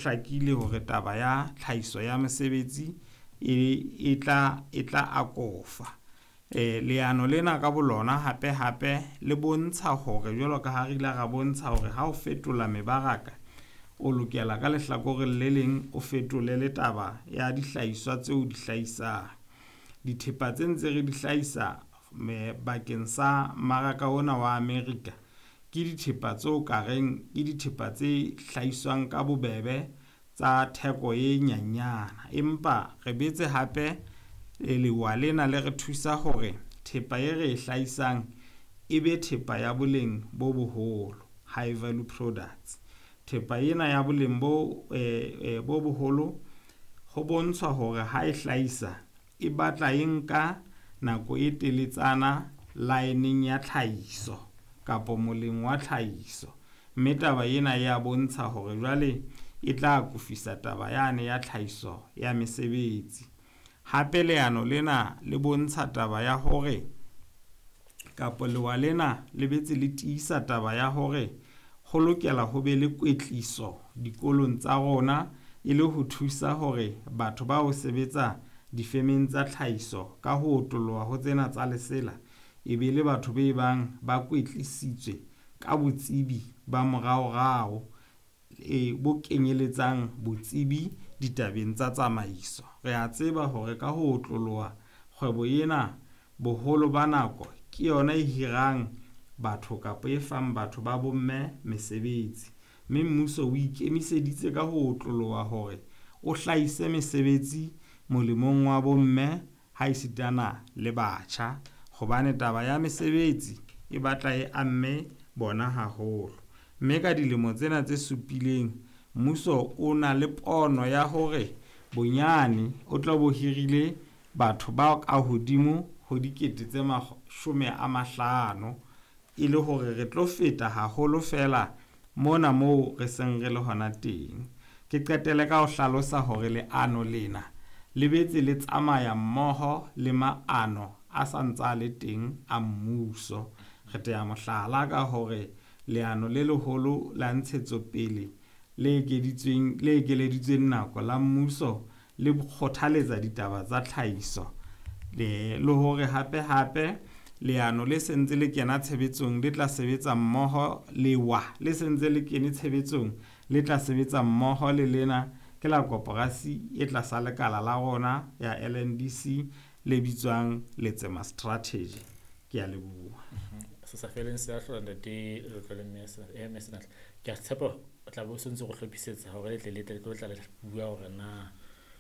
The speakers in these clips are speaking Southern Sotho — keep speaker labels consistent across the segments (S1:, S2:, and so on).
S1: Hlakile hore taba ya tlhahiso ya mesebetsi e tla akofa. Leano lena ka bolona hape-hape le bontsha hore jwalo ka ha re ile ra bontsha hore ha o fetola mebaraka, o lokela ka lehlakoreng le leng o fetole le taba ya dihlahiswa tseo di hlahisang. Dithepa tse ntse re di hlahisa bakeng sa mmaraka ona wa America, ke dithepa tseo ka reng ke dithepa tse hlahiswang ka bobebe tsa theko e nyanyana. Empa re betse hape lewa lena le re thusa hore thepa e re e hlahisang e be thepa ya boleng bo boholo, high value products. Thepa ena ya boleng bo boholo ho bontshwa hore ha e hlahisa e batla e nka nako e teletsana line ya tlhahiso kapa moleng wa tlhahiso. Mme taba ena ya bontsha hore jwale e tla akofisa taba yane ya tlhahiso ya mesebetsi. Hape leano lena le bontsha taba ya hore kapa lewa lena le betse le tiisa taba ya hore ho lokela ho be le kwetliso dikolong tsa rona e le ho thusa hore batho ba ho sebetsa difemeng tsa tlhahiso ka ho otoloha ho tsena tsa lesela e be le batho be bang ba kwetlisitswe ka botsebi ba moraorao e bo kenyeletsang botsebi ditabeng tsa tsamaiso. Re a tseba hore ka ho otloloha kgwebo ena boholo ba nako ke yona e hirang batho kapa e fang batho ba bomme mesebetsi. Mme mmuso o ikemiseditse ka ho otloloha hore o hlahise mesebetsi molemong wa bomme ha esitana le batjha, hobane taba ya mesebetsi e batla e amme bona haholo. Mme ka dilemo tsena tse supileng mmuso o na le pono ya hore bonyane o tla bo hirile batho ba ka hodimo ho 50 000 e le hore re tlo feta haholo fela mona moo re seng re le hona teng. Ke qetele ka ho hlalosa hore leano lena le betse le tsamaya mmoho le maano a sa ntsa le teng a mmuso. Re tea mohlala ka hore leano le leholo la ntshetsopele le ekeleditsweng nako la mmuso le kgothaletsa ditaba tsa tlhahiso le hore hape-hape leano le sentse le kena tshebetsong le tla sebetsa mmoho lewa le sentse le kene tshebetsong le tla sebetsa mmoho le lena ke la koporasi e tlasa lekala la rona ya LNDC le bitswang Letsema Strategy. Ke a leboha.
S2: Se sa feleng se a hlola ntate Letlotlo le mme Senatla. Ke a tshepa o tla be o sentse go hlophisetsa hore le tle le tle le tla le bua hore na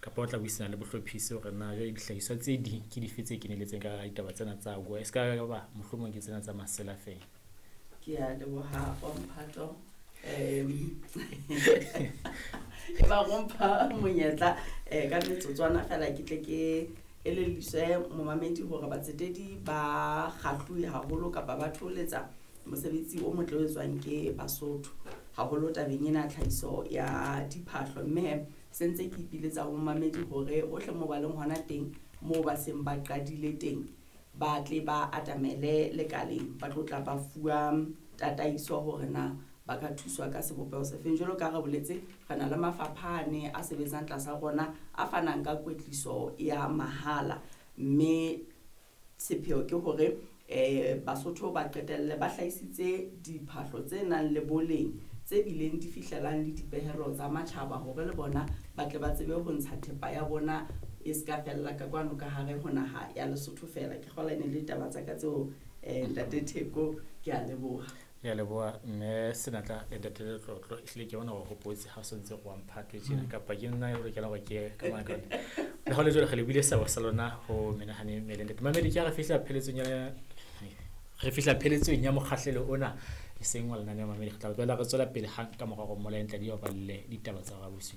S2: kapa o tla buisana le bohlophisi hore na jwale dihlahiswa tse ding ke dife tse keneletseng ka ditaba tsena tsa AGOA, e se ka ba mohlomong ke tsena tsa masela fela.
S3: Ke a leboha wa mphato. E ba go mpha monyetla ka metsotswana fela ke tle ke elelliswe momamedi hore batsetedi ba kgahluwe haholo kapa ba thoholetsa mosebetsi o motle o etswang ke Basotho haholo tabeng ena tlhahiso ya diphahlo. Mme se ntse ke ipiletsa ho momamedi hore ohle moo ba leng hona teng moo ba seng ba qadile teng ba tle ba atamele lekaleng, ba tlo tla ba fuwa tataiso hore na ba ka thuswa ka sebopeho se feng. Jwalo ka re boletse, re na le mafapha ane a sebetsang tlasa rona a fanang ka kwetliso ya mahala, mme sepheo ke hore Basotho ba qetelle ba hlahisitse diphahlo tse nang le boleng tse bileng di fihlelang le dipehelo tsa matjhaba hore le bona ba tle ba tsebe ho ntsha thepa ya bona e se ka fella ka kwano ka hare ho naha ya Lesotho fela. Ke kgolwa e ne le ditaba tsa ka tseo, ntate Theko, ke a leboha.
S2: Ke a leboha mme Senatla le ntate Letlotlo. Ehlile ke bona hore hopotse ha o sentse go wa mphato tjena kapa ke nna o lokelang hore ke ka maka. Le ha le jwale re lebile seabo sa lona ho menahane mmele ntate Mamedi. Ke ha re fihla pheletsong ya re fihla pheletsong ya mokgahlelo ona e seng wa lenaneo Mamedi. Re tla boela re tswela pele hang ka mora hore Mola Ntladi a balle ditaba tsa hora bosiu.